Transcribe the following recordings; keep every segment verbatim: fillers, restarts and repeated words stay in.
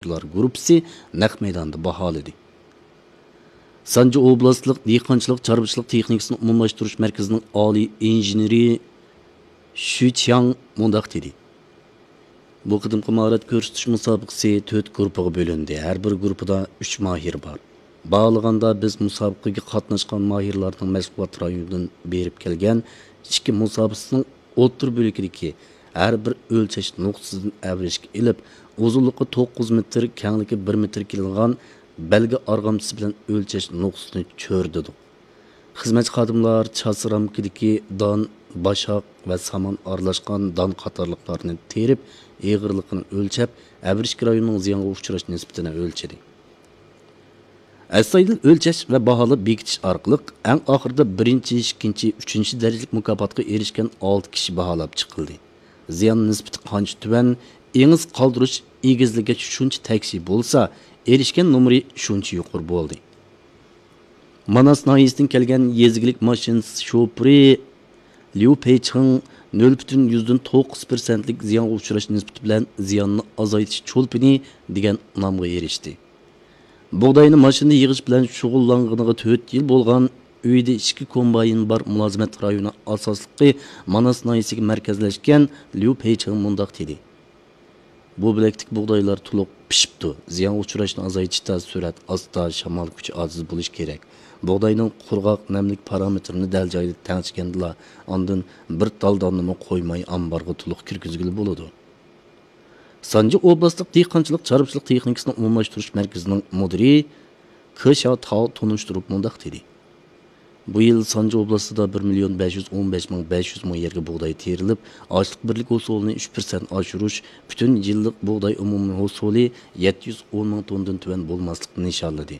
ئۇلار گۇرۇپپىسى نەق مەيداندا باھالىدى. سانجى ئوبلاستلىق دېھقانچىلىق چارۋىچىلىق تېخنىكىسىنى ئومۇملاشتۇرۇش مەركىزىنىڭ ئالىي ئىنژېنېرى شۈ چياڭ مۇنداق دېدى: بۇ قېتىمقى ماھارەت كۆرسىتىش مۇسابىقىسى تۆت گۇرۇپپىغا بۆلۈندى. ھەر بىر گۇرۇپپىدا ئۈچ ماھىر بار. باھالىغاندا، بىز مۇسابىقىگە قاتناشقان ماھىرلارنىڭ مەشغۇلات رايونىدىن بېرىپ كەلگەن ئىككى مۇسابىقىچىنىڭ ئوتتۇرا بۆلىكىدىكى ھەر بىر ئۆلچەش نۇقتىسىدىن ئەۋرىشكە ئېلىپ، ئۇزۇنلۇقى توققۇز مېتىر، كەڭلىكى بىر مېتىر كېلىنغان بەلگە ئارغامچىسى بىلەن ئۆلچەش نۇقتىسىنى چۆرىدۇ. خىزمەتچى خادىملار چاسا رامكىدىكى دان، باشاق ۋە سامان ئارىلاشقان دان قاتارلىقلارنى تېرىپ، ئېغىرلىقىنى ئۆلچەپ، ئەۋرىشكە رايونىنىڭ زىيانغا ئۇچراش نىسبىتىنى ئۆلچىدى. ئەستايىدىل ئۆلچەش ۋە باھالاپ بېكىتىش ئارقىلىق، ئەڭ ئاخىرىدا بىرىنچى، ئىككىنچى، ئۈچىنچى دەرىجىلىك مۇكاپاتقا ئېرىشكەن ئالتە كىشى باھالاپ چىقىلدى. زىيان نىسبىتى قانچە تۆۋەن، ئېڭىز قالدۇرۇش ئېگىزلىكىگە شۇنچە تەكشى بولسا، ئېرىشكەن نومۇرى شۇنچە يۇقىرى بولدى. ماناس ناھىيەسىدىن كەلگەن يېزا ئىگىلىك ماشىنىسى شوپۇرى ليۇ پېيچىڭ نۆل پۈتۈن يۈزدىن توققۇز پىرسەنتلىك زىيانغا ئۇچراش نىسبىتى بىلەن زىياننى ئازايتىش چولپىنى دېگەن ئۇنامغا ئېرىشتى. بۇغداينى ماشىنىدا يىغىش بىلەن شۇغۇللانغىنىغا تۆت يىل بولغان ئۆيدە ئىككى كومباين بار مۇلازىمەت رايونى ئاساسلىقى ماناس ناھىيەسىگە مەركەزلەشكەن ليۇ پېيچىڭ مۇنداق دېدى: بۇ بۆلەكتىكى بۇغدايلار تولۇق پىشىپتۇ. زىيانغا ئۇچراشنى ئازايتىشتا سۈرئەت ئاستا، شامال كۈچى ئاجىز بولۇشى كېرەك. بۇغداينىڭ قۇرغاق، نەملىك پارامېتىرىنى دەل جايىدا تەڭشىگەندىلا، ئاندىن بىر تال داننىمۇ قويماي ئامبارغا تولۇق كىرگۈزگىلى بولىدۇ. سانجى ئوبلاستلىق دېھقانچىلىق چارۋىچىلىق تېخنىكىسىنى ئومۇملاشتۇرۇش مەركىزىنىڭ مۇدىرى كې شياۋ تاۋ تونۇشتۇرۇپ مۇنداق دېدى: بۇ يىل سانجى ئوبلاستىدا بىر مىليون بەش يۈز ئون بەش مىڭ بەش يۈز مو يەرگە بۇغداي تېرىلىپ، ئاشلىق بىرلىك ھوسۇلىنى ئۈچ پىرسەنت ئاشۇرۇش، پۈتۈن يىللىق بۇغداي ئومۇمىي ھوسۇلى يەتتە يۈز ئون مىڭ توننىدىن تۆۋەن بولماسلىقنى نىشانلىدى.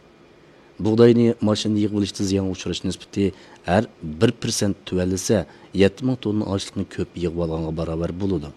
بۇغداينى ماشىنىدا يىغىۋېلىشتا زىيانغا ئۇچراش نىسبىتى ھەر بىر پىرسەنت تۆۋەنلىسە، يەتتە مىڭ توننا ئاشلىقنى كۆپ يىغىۋالغانغا باراۋەر بولىدۇ.